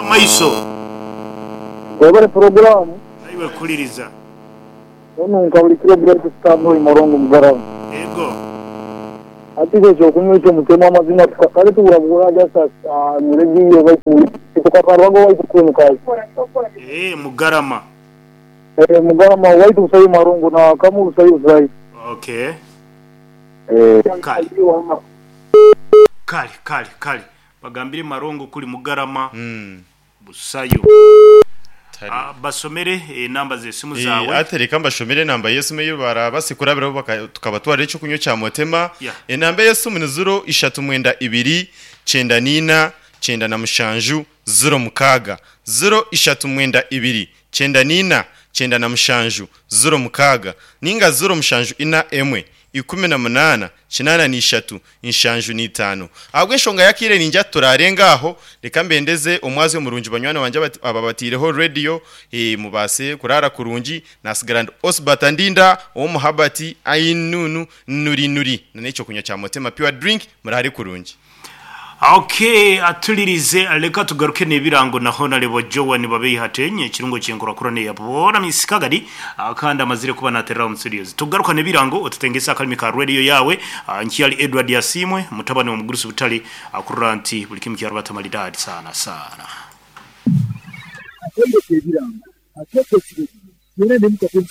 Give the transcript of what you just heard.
Maiso. Webale puroguramu. Naiwe kuhuliriza. Onunka buli kiro Bright Star Boy Morongo Mugarama. Ego. Hati itwe ekyokunywa ekyo mutemu amazima kale tubura just mu radio baitu titukakarwaga owaitu kwimukayo. Eeh Mugarama. Eeh Mugarama owaitu busayo Marongo na Kamu busayo busayo. Okay. Eeh. Kale. Kale kale kale bagambire Marongo kuli Mugarama busayo. Basomere enamba z'esimu zaawe. Ate reka mbashomere enamba y'esimu ei baraabase kurabiraho tukabatwarira eky'okunywa kya Motema. Enamba y'esimu ni ziro ishatu mwenda ibiri, kyenda n'eina, kyenda na mushanju, ziro mukaaga. Ziro ishatu mwenda ibiri, kyenda n'eina, 97, 06, nainga 0 7 emwe, 18, 83, 75. Ahabw'enshonga y'akaire niingira turarenga aho, reka mbendeze omwazyo murungi banywani bangye ababataireho rediyo, mubaase kuraara kurungi. Nasigara ndi Osbert Ndinda ow'omu Herbert Ainunu Nuri Nuri na n'ekyokunywa kya Motema Pure Drink muraare kurungi. Ok atulirize leka tugaruke nebirango na Honarebo Joan Babeihatenye ekirungo kyenkurakurana eya boona Miss Kagadi kandi amazire kuba naterera omu studios. Tugaruka nebirango otutengese akalimi ka radio yawe. Nkyali Edward Asiimwe mutabani wa Mugurusi Butale akurora nti buli kimu kyarubata maridadi sana sana. Atendeka ebirango, ateeka ekiragiro, byona n'emikago.